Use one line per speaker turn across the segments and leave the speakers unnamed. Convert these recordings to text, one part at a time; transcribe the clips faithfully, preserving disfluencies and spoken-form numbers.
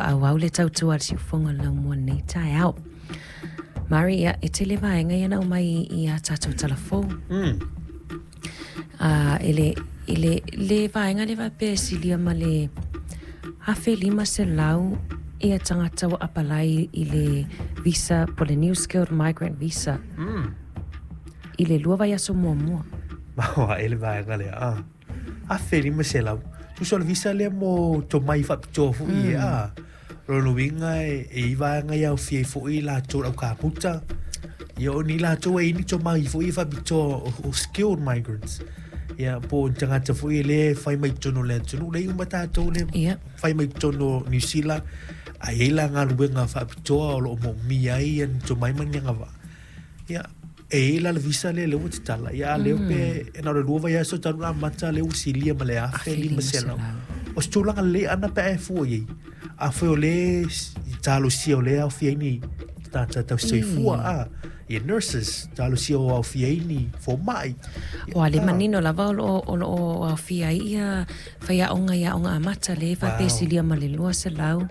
Faaauau le tautua a le siufofoga o le laumua i lenei taeao. Mari, ia, e tele vaega ia na aumai i a tatou talafou.
Mm.
Uh, e le, i le, le vaega le faapea e silia ma le afe lima selau ia tagata ua apalai i le visa po le New Skilled Migrant Visa
Mm.
i le lua vaiaso muamua.
Maua e le vaega lea. Ah. Afe lima selau. Tusa o le visa lea mo tomai faapitoa foi e a. Lona uiga e e i vaega ia aofia ai foi latou le au kamuta. Ia o ni latou e i ni tomai foi e faapitoa o, o skilled migrants. Ia po o ni tagata foi e lē fai mai totonu o le atunuu le uma tatou le
Ia.
fai mai totonu o Niu Sila ae i ai la galuega faapitoa o loo moomia ai ia ni tomai ma ni agavaa. Ia e i ai la le visa lea lea ua tatala ia a lea pe e na o le lua vaiaso talu ona amata lea ua silia ma le afe lima selau. O se tulaga lelei ana pe a e fua i ai. Afai o lea talosia o lea aofia ai ni tagata tausisoifua a ia nurses talosia o aofia ai ni fomai.
Ua le manino lava o loo o loo aofia ai ia faiaoga i aoga amata le faapea
Wow.
silia ma le lua selau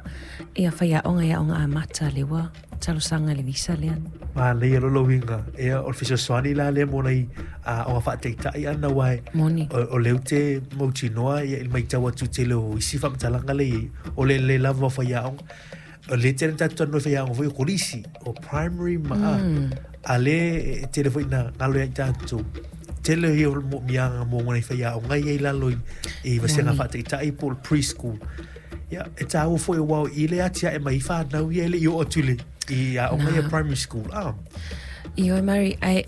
ia faiaoga i aoga amata le ua talosaga i le visa lea.
Manaia loa uiga ia o le fesoasoani la lea mo nai aoga faataitai ana aua e
Moni.
o, o lea ou te mautinoa ia i le matau atu i tele o isi faamatalaga lea i ai o le lelei lava o faiaoga o lea tele na tatou talanoa i faiaoga foi o kolisi o primary ma a a lea e tele foi na galo ia i tatou tele ia o le moomiaga mo nai faiaoga ia i lalo i, i vasega faataitai po o le preschool. Ia e tāua foi aua o i le atiae mai ai fanau ia e le i oo atu i le i aoga ia primary school. Ah.
Ioe Mary, ai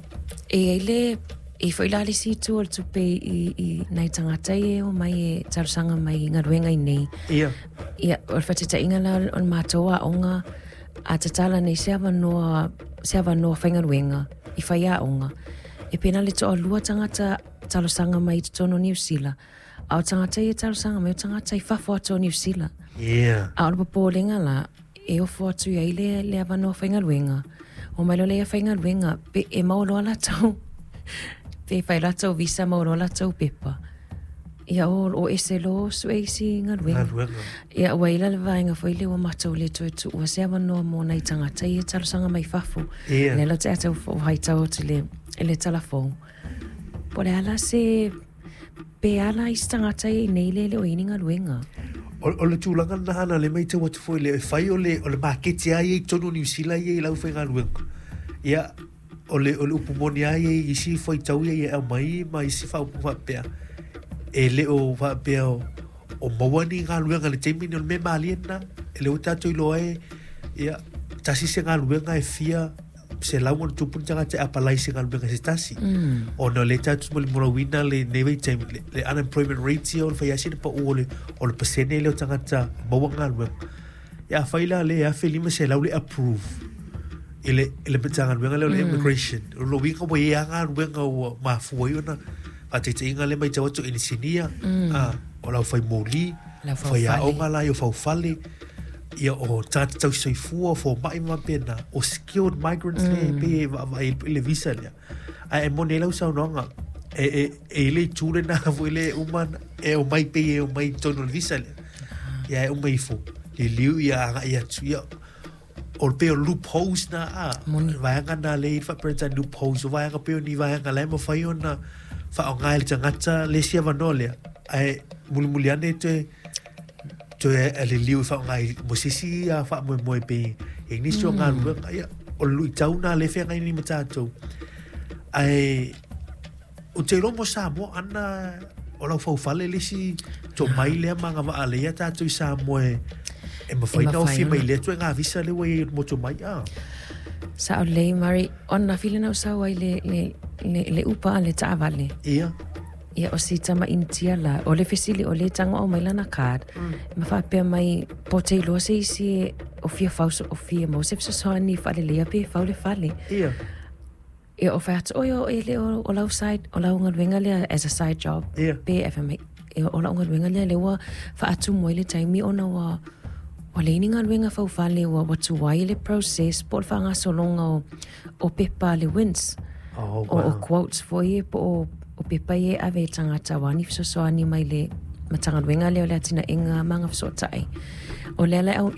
e ai le e foi la le isi itu o le tupe i, i nai tagata ia e omai e talosaga mai i galuega i nei.
Ia.
Ia, o le faataitaiga la o le matou aoga a tatala nei se avanoa se avanoa faigaluega i faiaoga. E pena le toalua tagata talosaga mai i totonu o Niu Sila. A o tagata ia e talosaga mai o tagata i fafo atu o Niu Sila.
Yeah.
A o le popolega la, e ofo atu i ai le, le avanoa faigaluega. O mai loa lea faigaluega, pe e maua loa latou, pe fai latou visa maua loa latou pepa. Ia o, o ese loa sue isi galuega.
Galuega.
Ia ua i la le vaega foi lea ua matou le toe tuua se avanoa mo nai tagata ia e talosaga mai fafo.
Ia.
Lea la te atau haitau atu le, i le talafou. Po o le a la se pe ala isi tagata ia i nei le le o i ni galuega.
O, o le tulaga lena ana le matau atu foi le e fai o le o le maketi a ia i totonu o Niu Sila ia i lau faigaluega. Ia o le o le upu moni a ia i isi faitau ia e aumai ma isi faaupuga faapea e le o faapea o, o maua ni galuega i le taimi ni o le mea malie lena e le ua tatou iloa e ia tasi se galuega e fia selau ona tupu ni tagata e apalai se galuega se tasi.
Mm.
Ona o lea tatou molimolauina lenei vaitaimi le, le unemployment rate ia o le fai lava sina pau o le, o le pasene lea o tagata maua galuega. Ia afai la lea e afe lima selau le approve i le, i le Matagaluega lea o le immigration. O lona uiga ua i ai lava galuega ua mafua ai ona faataitaiga lea matau atu inisinia,
Mm.
a, o le aufai moli,
Le aufaufale.
faiaoga la ia o faufale, ia o tagata tausisoifua, o fomai ma faapena, o skilled migrants mm. le pei e vaavaai i le visa lea. Ae e moni ai lau saunoaga, e, e, e i le itu lena foi le uma e omai pei e omai i totonu o le visa lea. Ia e uma ifo, liliu ia agai atu, ia o le pei o loopholes na a.
Moni.
Vaega na le i faa-Peretania loopholes, o vaega pei o ni vaega la e mafai ona faaaoga e le tagata le isi avanoa lea. Ae mulimuli ane toe toe e liliu i faaaoga i mo se isi a faamoemoe pe e nisi o galuega. Ia, o le luitau na le feagai nei ma tatou. Ae ou te iloa mo Samoa ana o lau faufale le isi tomai lea ma agavaa lea ia tatou i Samoa e e mafai
E
ona
mafai
ofia mai
ona.
lea ituaiga visa lea ua i ai mo tomai. Ah.
Sao lelei Mari, o ananafi lena ua sau ai le, le, le, le upa a le taavale.
Ia.
Ia o si tama Initia la, o le fesili o le tago au mai lana card.
Mm.
Ma faapea mai po o te iloa se isi e o fia fauso o fia maua se fesoasoani faaleleia pe fau le fale.
Ia.
Ia o fai atu, oi o e le o, o lau side, o lau galuega lea as a side job.
Ia.
Pe e fai mai, e o lau galuega lea lea ua faatumu ai le taimi ona ua ua leai ni galuega faufale ua ua tuai le process po o le faagasologa o, o pepa a le WINZ.
Oh,
O, o
wow.
quotes foi e po o, o pepa ia e ave e tagata aua ni fesoasoani mai le Matagaluega lea o le Atinaega ma Agafesootai. O lea la